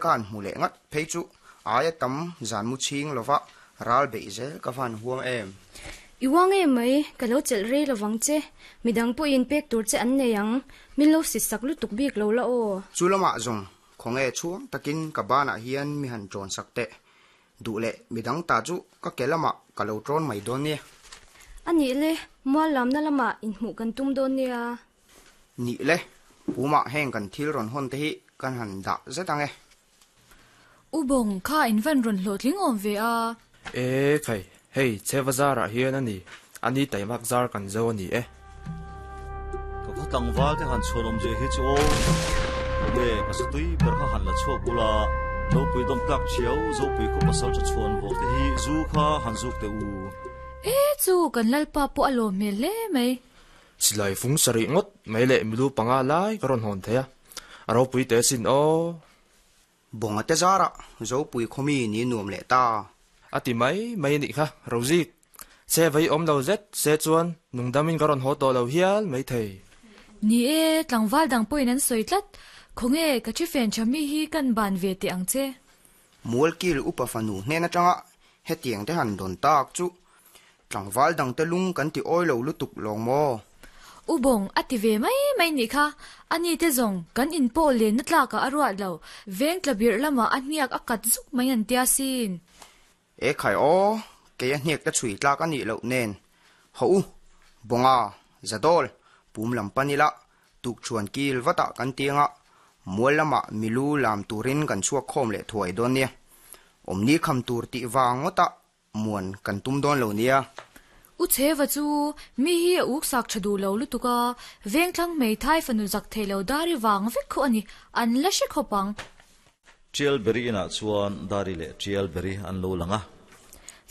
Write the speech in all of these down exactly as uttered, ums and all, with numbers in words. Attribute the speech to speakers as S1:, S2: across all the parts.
S1: Kan hmu leh ngat phei chu aia tam zan mu chhing lova ral beih zel ka van huam em.
S2: I uang em mai, ka lo chelh rei lovang che. Midang pawhin pek tur che an nei ang, min lo si sak lutuk bik lo la aw.
S1: Chu lamah zawng khawnge chhuang takin ka banah hian mi han ṭawn sak teh. Duh leh midang ta chu ka ke lamah ka lo ṭawn mai dawn nia.
S2: A nih le, mual lamna lamah inhmuh kan tum dawn nia.
S1: Nih le, pumah heng kan thil rawn hawn te hi kan han dah zet ang e.
S3: U Bawng, kha in van rawn hlawhtling awm ve a.
S4: E khai, hei Cheva zarah hian a ni, a ni taimak zar kan zo a ni e.
S5: Ka khaw tlangval te han chhuan awm zia hi chu aw. Nge ka satui ber kha han la chhuak ula, Zopui dawm tlak thiau, Zopui khaw pasal tha chhuan vawk te hi zu kha han zuk teh u.
S3: E chu kan Lalpa pawh a lawm hmel hle mai.
S4: Silai fung sarih ngawt mai leh milu panga lai ka rawn hawn thei a, a ropui teh asin aw.
S1: Bawnga te zarah Zopui khawmi ni nuam leh ta.
S4: A ti mai mai a nih kha, Rozik. Che vei awm lo zet se chuan nungdamin ka rawn haw tawh lo hial mai thei.
S3: Ni e, tlangval dang pawhin an sawi tlat. Khawnge, ka thi fen tha mi hi kan ban ve teh ang che.
S1: Mualkil upa fanu hnen atanga hetiang te han dawn tak chu tlangval dang te lung kan ti awi lo lutuk lawng maw?
S3: U Bawng a ti ve mai mai nih kha, a ni te zawng kan in pawh lenna tlakah a ruat lo, veng tla birh lamah a hniak a kat zuk mai an tia sin.
S1: E khai aw, kei a hniak te chhui tlak a nih loh nen. Haw u, Bawnga, Zadawl, pum lam pan ila, tukchhuan kil vatah kan tiang a, mual lamah milu lam turin kan chhuak khawm leh thuai dawn nia. Awmni kham tur tih vang ngawtah muan kan tum dawn lo nia.
S3: U Chheva chu mi hi a uk sak tha duh lo lutuk a, vengthlang hmeithai fanu zak thei lo Dari vang vek khaw a ni, an la hre khawp ang.
S5: Tialberi inah chuan Dari leh Tialberi an lo lang a.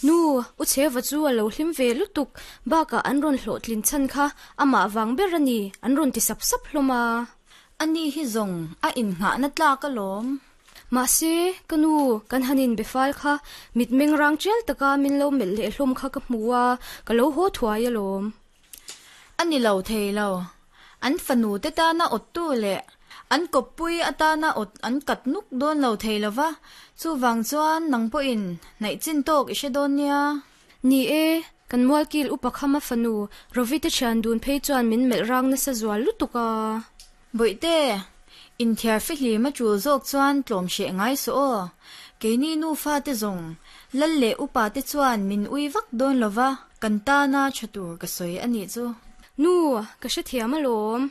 S2: Nu, U Chheva chu a lo hlim ve lutuk, bakah an rawn hlawhtlin chhan kha amah vang ber a ni, an rawn ti sap sap hlawm a.
S6: A ni hi zawng a inngahna tlak alawm.
S2: Mahse, ka nu, kan han inbe fal kha, mitmeng rang tial taka min lo melh leh hlawm kha ka hmu a, ka lo haw thuai alawm.
S6: A ni lo thei lo. An fanu te tana awttu leh an kawppui atana awt an kat nuk dawn lo thei lo va, chuvang chuan nang pawhin hnaih chin tawk i hre dawn nia.
S2: Ni e, kan Mualkil upa khama fanu Rovi te thian dun phei chuan min melh rang nasa zual lutuk a.
S6: Bawihte, inthiar fihlim a tul zawk chuan tlawm hreh ngai suh aw. Keini nufa te zawng, Lal leh upa te chuan min ui vak dawn lo va, kan tana tha tur ka sawi a nih chu.
S2: Nu, ka hrethiam alawm.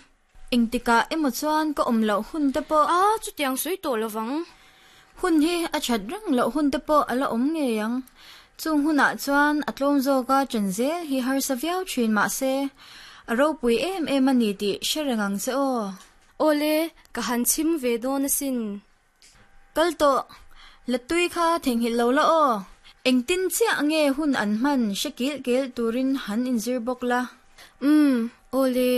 S6: Engtikah emaw chuan ka awm loh hun te pawh.
S2: A, chutiang sawi tawh lovang.
S6: Hun hi a that reng loh hun te pawh a la awm ngei ang. Chung hunah chuan a tlawm zawka ṭan zel hi harsa viau ṭhin mahse, a ropui em em a ni tih hre reng ang che aw.
S2: Awle, ka han chhim ve dawn asin.
S6: Kal tawh, Latui kha theihnghilh lo la aw. Engtin chiah nge hun an hman hre kilh kilh turin han inzir bawk la.
S2: Umm, awle.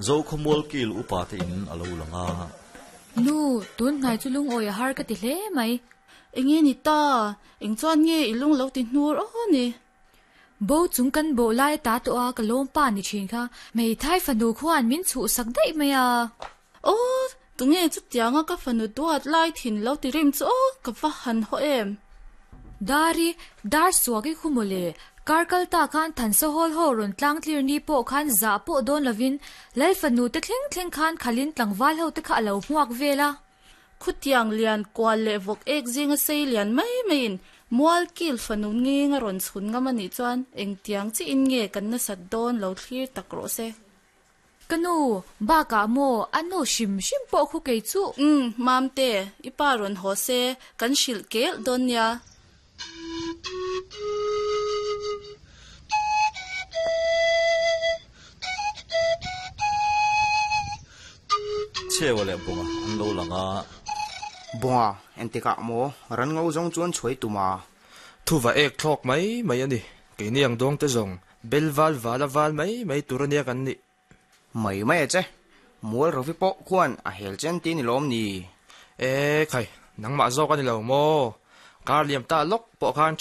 S5: Zokhawmual kil upa te in a lo lang a.
S3: Nu, tun hnai chu lungawi a har ka ti hle mai.
S7: Enge ni ta? Eng chuan nge i lung lo ti hnur aw ni?
S3: Bo chung kan bawh lai ta tawh a ka lawm pa ni thin kha. Hmeithai fanu khuan min chhuhsak daih mai a.
S7: Aw, tunge chutianga ka fanu duat lai thin lo ti rim chu aw, ka va han haw em?
S3: Dari, dar suak i khu mawle. Kar kal ta khan Thansa Hall ho rawn tlang tlir ni pawh khan zah pawh dawn lovin Lal fanu te thleng thleng khan khalin tlangval ho te kha a lo hmuak vel a.
S7: Khutiang lian kual leh vawk ek zinga sei lian mai maiin Mualkil fanu ngeng a rawn chhun ngam a nih chuan engtiang chiin nge kan nasat dawn lo thlir tak rawh se.
S3: Ka nu, bakah maw a nu hrim hrim pawh khu kei chu.
S7: Umm, Mamte, i pa rawn haw se, kan hrilh kelh dawn nia.
S5: Chhewa leh Bawnga an lo lang a.
S1: Bawnga, engtikah maw ran ngo zawng chuan chhuai tum a?
S4: Thuva ek thlawk mai mai a ni. Keini ang dawng te zawng, bel val val a val mai mai tur a nia kan nih.
S1: Mai mai a che, Mual Rovi pawh khuan a hel chen ti ni lawm ni?
S4: E khai, nangmah zawk a ni lo maw? Kar liam ta lawk pawh khan